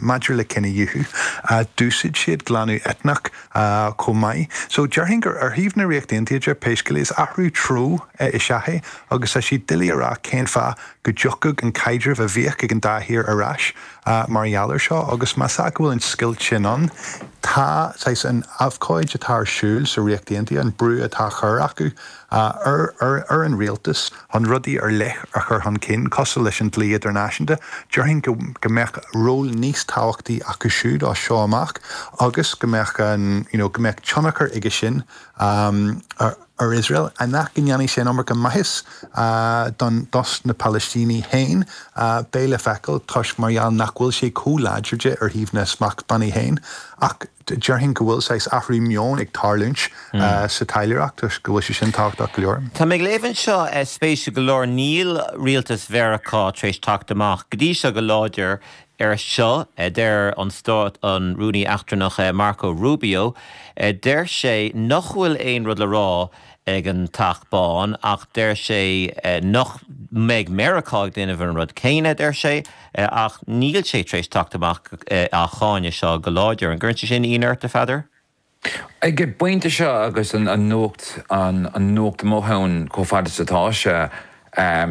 Maidir le cinedhíothú, d'úsáid siad glanadh eitneach chomh maith. So, déarfainn gur ar thaobh na Ríochta Aontaithe de, pé scéal é, is athrú treo is ea é agus tá sé doiligh a rá cén fáth go dtiocfadh an caidreamh a bhíodh ag an dá thír ar ais mar gheall air seo agus más ea go bhfuil an scoilt sin ann, tá saghas an abhcóid atá ar siúl sa Ríocht Aontaithe, an brú atá á chur acu ar an rialtas chun rudaí ar leith a chur chun cinn, cosúil leis an dlí idirnáisiúnta. Déarfainn go mbeadh ról níos tábhachtaí acu siúd as seo amach agus go mbeadh an, you know, go mbeadh tionchar aige sin ar Iosrael. Nach go ndéanfaidh sé an iomarca maitheas don, dos na Palaistínigh féin, beidh le feiceáil toisc mar gheall nach bhfuil sé chomh láidir de ar thaobh na smachtbhannaí féin. Ach déarfainn go bhfuil saghas athrú meoin ag tarlúint sa taidhleoireacht agus go bhfuil sé sin tábhachtach go leor. Tá mé ag léamh anseo, spéisiúil go leor, níl rialtas Mheiriceá tar éis teacht amach go dtí seo go láidir ar seo. Deir an Stát, an Rúnaí Eachtrannach Marco Rubio, deir sé nach bhfuil aon rud le rá ag an Teach Bán ach deir sé nach mbeidh Meiriceá ag déanamh an rud céanna, deir sé, ach níl sé tar éis teacht amach á cháineadh seo go láidir. An gcuireann sé sin ionadh ort, a Pheadair? Ag an bpointe seo agus an nuacht, an nuacht amuigh ann chomh fada is atá sé,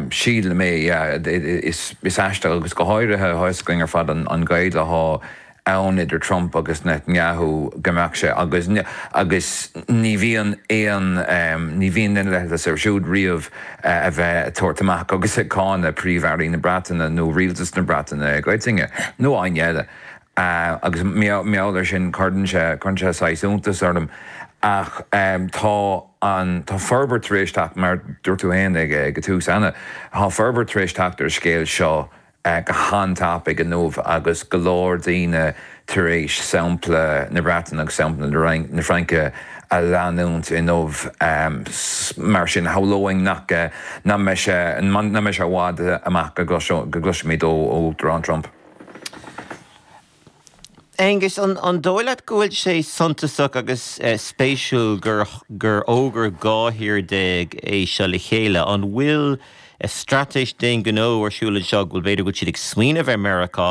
sílim é, yeah, is aisteach agus go háirithe, tá a fhios againn ar fad an gaol atá ann idir Trump agus Netanyahu go mbeadh sé agus agus ní bhíonn aon ní bhíonn aon leithleas air siúd riamh a bheith ag tabhairt amach agus ag cáineadh Príomh-Airí na Breataine nó rialtas na Breataine i gcoitinne nó éinne eile agus mar gheall air sin cuireann sé cuireann sé saghas iontas orm ach tá an tá forbairt tar éis teacht mar dúirt tú féin ag ag an tús Anna tá forbairt tar éis teacht ar an scéal seo go han-tapaidh inniu agus go leor daoine tar éis sampla na Breataine agus sampla na Fraince a leanúint inniu. Mar sin, shamhlóinn nach mbeidh sé nach mbeidh sé i bhfad amach go gcloisfimid ó Uachtarán Trump. Aengus, an dóigh leat go bhfuil sé suntasach agus spéisiúil gur gur fhógair 12 thír é seo le chéile? An bhfuil straitéis d'aon ghnó ar siúl anseo, go bhfuil, b'fhéidir go bhfuil siad ag smaoineamh ar Meiriceá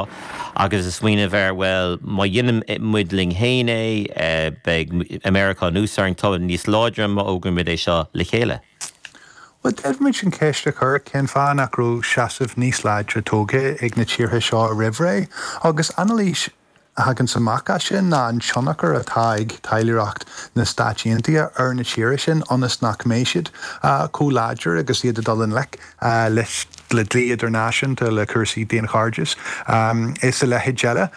agus ag smaoineamh ar, bhuel, má dhéanann muid linn féin é, beidh Meiriceá anuas orainn, tá níos láidre má fhógraímid é seo le chéile? Bhuel, d'fhéadfaimis an cheist a chur, cén fáth nach raibh seasamh níos láidre tógtha ag na tíortha seo roimh ré? Agus anailís a thaganns amach as sin ná an tionchar atá ag taidhleoireacht na Stáit Aontaithe ar na tíortha sin ionas nach mbeidh siad chomh láidir agus iad ag dul i ngleic leis le dlí idirnáisiúnta, le cúrsaí daonchairdis is a leithéid eile.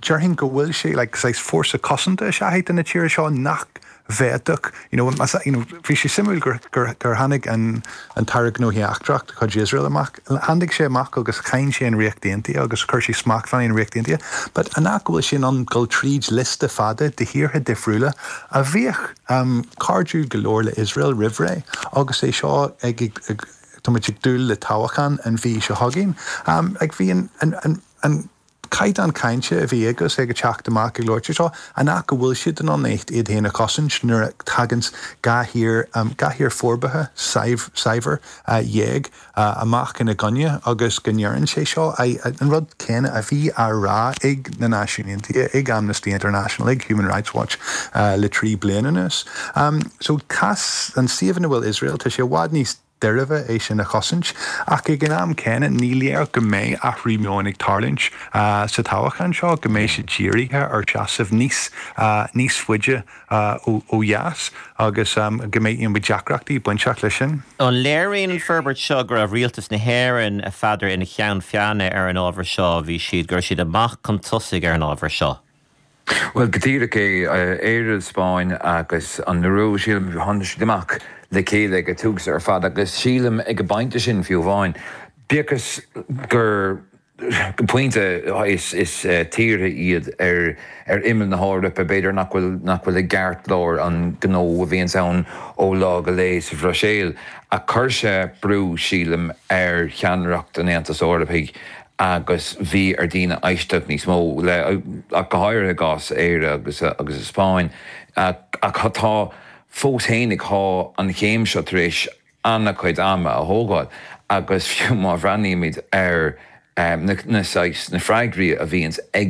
Déarfainn go bhfuil sé like saghas fórsa cosanta is ea é do na tíortha seo nach bhféadfadh, you know, you know, bhí sé suimiúil gur, gur, gur tháinig an, an tAire Gnóthaí Eachtrach de chuid Iosrael amach, tháinig sé amach agus cháin sé an Ríocht Aontaithe agus chuir sé smachtbhannaí ar an Ríocht Aontaithe, but an nach go bhfuil sé in ann dul tríd liosta fada de thíortha difriúla a bhíodh um, cairdiúil go leor le Iosrael roimh ré agus é seo ag, ag, ag, tá muid ag dúil le toghchán an mhí seo chugainn. Um, like, bhí an, an, an, an caighdeán cainte a bhí aige agus é ag teacht amach ag labhairt seo, an ea go bhfuil siad in ann iad féin a chosaint nuair a thaganns 12 thír, 12 thír forbartha saibhir amach ina gcoinne agus go ndeireann sé seo an rud céanna a bhí á rá ag na Náisiúin Aontaithe, ag Amnesty International, ag Human Rights Watch le 3 bliana anuas. So cás an suíomh ina bhfuil Iosrael, tá sé i bhfad níos deirbhe é sin a chosaint, ach ag an am céanna ní léir go mbeidh athrú meoin ag tarlúint sa toghchán seo, go mbeidh siad dírithe ar seasamh níos níos faide ó dheas agus go mbeidh you know deacrachtaí bainteach leis sin. An léiríonn an forbairt seo go raibh rialtas na hÉireann, a Pheadair, ina cheann feadhna ar an ábhar seo, bhí siad, go raibh siad amach chun tosaigh ar an ábhar seo? Bhuel, go díreach é. Éire, Spáinn agus an Iorua, sílim, tháinig siad amach le chéile ag an tús ar fad agus sílim ag an bpointe sin fiú amháin, bíodh is gur, go pointe, is tíortha iad ar ar imeall na hEorpa, b'fhéidir nach bhfuil, nach bhfuil i gceartlár an ghnó a bhíonns ann ó lá go lá sa Bhruiséil. Ach chuir sé brú, sílim, ar cheannaireacht an Aontais Eorpaigh agus bhí ar daoine éisteacht níos mó le, ach go háirithe i gcás Éire agus agus an Spáinn. Ach tá, fós fhéinig, tá an chéim seo tar éis an-chuid ama a thógáil agus fiú má bhreathnaímid ar. na saghas, na freagraí a bhíonns ag.